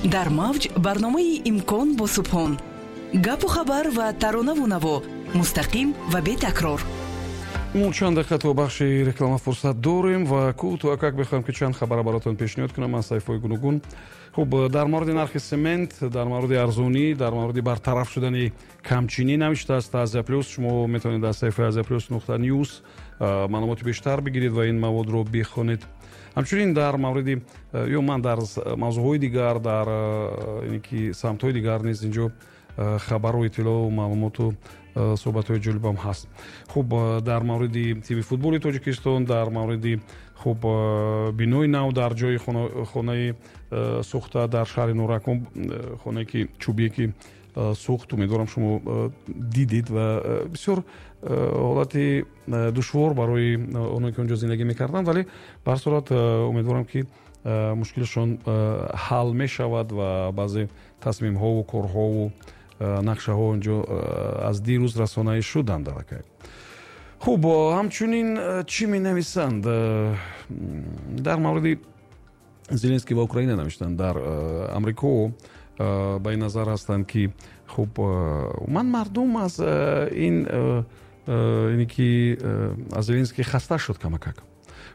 Дар мавҷ барномаи «Имкон» бо Субҳон. Гапу хабар ва таронаву наво, мустақим ва бетакрор. Мо чанд дақиқа то бахши реклама фурсат дорем ва кӯтоҳакак мехоҳам, ки чанд хабара баротон пешниҳод кунам аз саҳифаҳои гуногун. Хуб, дар мавриди нархи семент, дар мавриди арзонӣ, дар мавриди бартараф шудани камчинӣ навиштааст Азия Плюс. Шумо метавонед аз саҳифаи Азия Плюс.news маълумоти бештар бигиред ва ин маводро бихонед. Ҳамчунин дар мавриди ё ман дар мавзӯъҳои дигар, дар ин ки самтҳои дигар низ инҷо хабару иттилоу маълумоту суҳбатҳои ҷолибам ҳаст. Хуб, дар мавриди тими футболи Тоҷикистон, дар мавриди, хуб, бинои нав дар ҷои хонаи сӯхта дар шаҳри Норак, хонае ки чӯбие ки сӯхт, умедворам, шумо дидед, ва бисёр ҳолати душвор барои оное ки онҷо зиндагӣ мекарданд, вале ба ҳар сурат умедворам, ки мушкилшон ҳал мешавад ва баъзе тасмимҳову корҳову нақшаҳо онҷо аз дирӯз расонаӣ шуданд аллакай. Хуб, ҳамчунин чӣ менависанд? Дар мавриди Зеленский ва Украина навиштанд. Дар Амрико ба ин назар ҳастанд, ки, хуб, умуман мардум аз ин ине ки аз Зеленский хаста шуд камакак.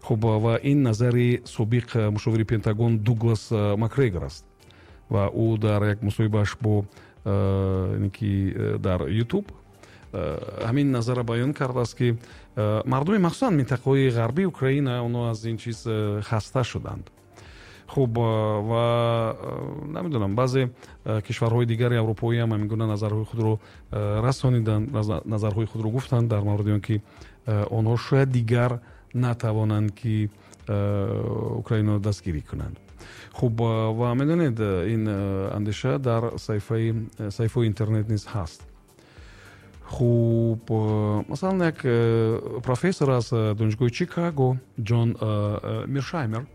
Хуб, ва ин назари собиқ мушовири Пентагон Дуглас Макгрегор аст ва ӯ дар як мусоҳибааш бо ине ки дар Ютуб ҳамин назарро баён кардааст, ки мардуми махсусан минтақаҳои ғарбии Украина, онҳо аз ин чиз хаста шуданд. Хуб, ва намедонам, баъзе кишварҳои дигари аврупоиам ҳамин гуна назарҳои худро расониданд, назарҳои худро гуфтанд дар мавриди он ки онҳо шояд дигар натавонанд, ки Украинаро дастгирӣ кунанд. Хуб, ва медонед, ин андеша дар саҳифаҳои интернет низ ҳаст. Хуб, масалан, як профессор аз донишгоҳи Чикаго, Ҷон Миршаймер,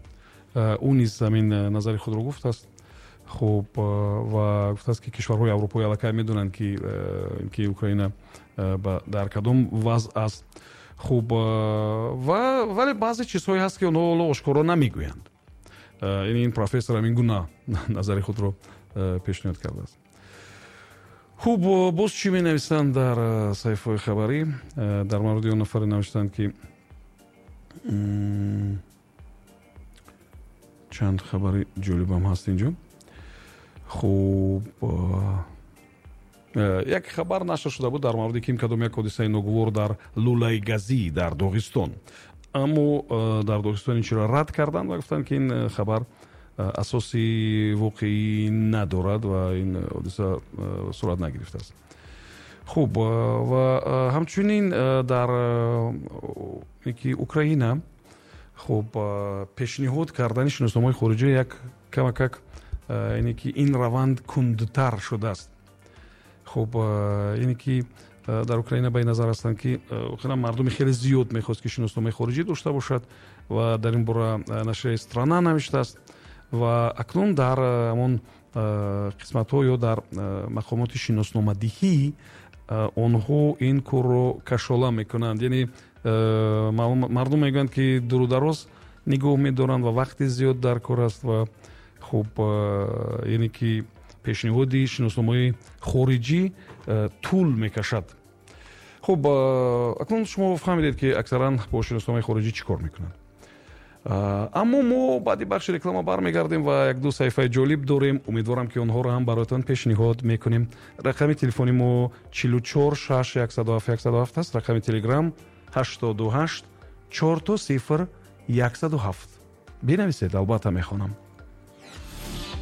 ӯ низ ҳамин назари худро гуфтааст. Хуб, ва гуфтааст, ки кишварҳои аврупоӣ аллакай медонанд, ки Украина дар кадом вазъ аст. Хуб, ва вале баъзе чизҳое ҳаст, ки онҳо ҳоло ошкоро намегӯянд. Ин профессор ҳамин гуна назари худро пешниҳод кардааст. Хуб, боз чӣ менависанд дар саҳифаҳои хабарӣ? Дар мавриди он нафаре навиштанд, ки чанд хабари ҷолибам ҳаст инҷо. Хуб, як хабар нашр шуда буд дар мавриди ким кадом як ҳодисаи ногувор дар лӯлаи газӣ дар Доғистон, аммо дар Доғистон ин чиро рад карданд ва гуфтанд, ки ин хабар асоси воқеӣ надорад ва ин ҳодиса сурат нагирифтааст. Хуб, ва ҳамчунин дар ки Украина, хуб, пешниҳод кардани шиносномаҳои хориҷӣ як камакак, яъне ки ин раванд кундтар шудааст. Хуб, яъне ки дар Украина ба ин назар ҳастанд, ки охиран мардуми хеле зиёд мехост, ки шиносномаи хориҷӣ дошта бошад, ва дар ин бора нашрияи «Страна» навиштааст. Ва акнун дар ҳамон қисматҳо ё дар мақомоти шиносномадиҳӣ онҳо ин корро кашола мекунанд, яъне мардум мегӯянд, ки дуру дароз нигоҳ медоранд ва вақти зиёд дар кор аст. Ва хуб, яъне ки пешниҳоди шиносномаи хориҷӣ тӯл мекашад. Хуб, акнун шумо фаҳмидед, ки аксаран бо шиносномаи хориҷӣ чӣ кор мекунанд. Аммо мо баъди бахши реклама бармегардем ва якду саҳифаи ҷолиб дорем. Умедворам, ки онҳоро ҳам бароятон пешниҳод мекунем. Рақами телефони мо 44 6 107 107 аст, рақами Телеграм 88 000 107. Бинависед, албатта мехонам.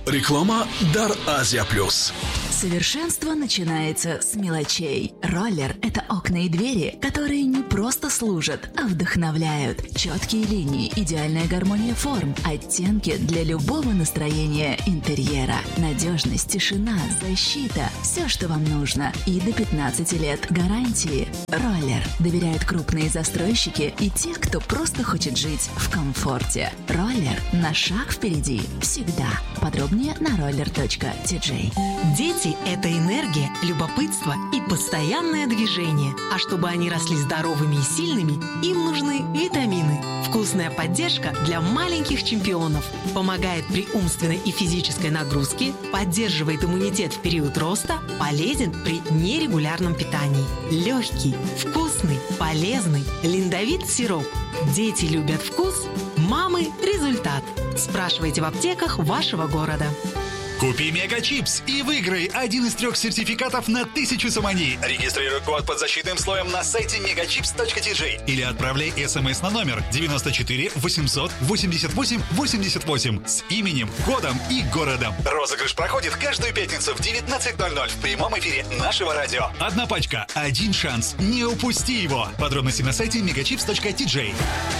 Реклама дар Азия Плюс. Совершенство начинается с мелочей. Роллер – это окна и двери, которые не просто служат, а вдохновляют. Четкие линии, идеальная гармония форм, оттенки для любого настроения интерьера. Надежность, тишина, защита – все, что вам нужно. И до 15 лет гарантии. Роллер. Доверяют крупные застройщики и те, кто просто хочет жить в комфорте. Роллер на шаг впереди. Всегда. Подробнее на roller.tj. День Дети – это энергия, любопытство и постоянное движение. А чтобы они росли здоровыми и сильными, им нужны витамины. Вкусная поддержка для маленьких чемпионов. Помогает при умственной и физической нагрузке, поддерживает иммунитет в период роста, полезен при нерегулярном питании. Легкий, вкусный, полезный Линдовит сироп. Дети любят вкус, мамы – результат. Спрашивайте в аптеках вашего города. Купи Мегачипс и выиграй один из трех сертификатов на 1000 сомони. Регистрируй код под защитным слоем на сайте megachips.tj или отправляй смс на номер 94 888 88 с именем, кодом и городом. Розыгрыш проходит каждую пятницу в 19:00 в прямом эфире нашего радио. Одна пачка, один шанс. Не упусти его. Подробности на сайте megachips.tj.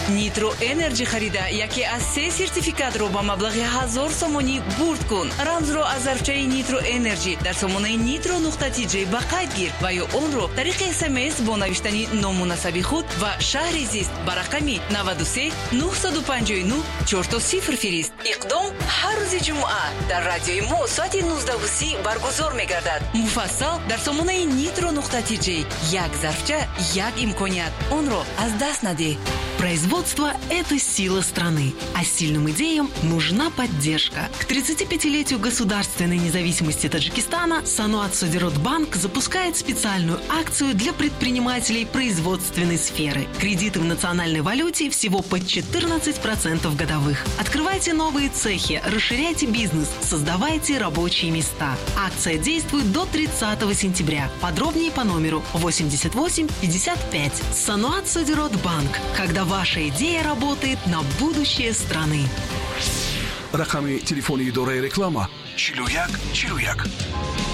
Нитро Энерджи харида яке аз се сертификатро ба маблағи 1000 сомонӣ бурд кун. Рамзро аз зарфчаи Нитро Энерджи дар сомонаи nitro.tj ба қайд гир ва ё онро тариқи СМС бо навиштани ному насаби худ ва шаҳри зист ба рақами 93 959 00 фирист. Иқдом ҳар рӯзи ҷумъа дар радиои мо соати 19:30 баргузор мегардад. Муфассал дар сомонаи nitro.tj. Як зарфча, як имконият, онро аз даст надеҳ. Производство – это сила страны, а сильным идеям нужна поддержка. К 35-летию государственной независимости Таджикистана Саноат Содиротбанк запускает специальную акцию для предпринимателей производственной сферы. Кредиты в национальной валюте всего под 14% годовых. Открывайте новые цехи, расширяйте бизнес, создавайте рабочие места. Акция действует до 30 сентября. Подробнее по номеру 88 55. Саноат Содиротбанк. Когда ваша идея работает на будущее страны. Рақами телефони идораи реклама: 41 41.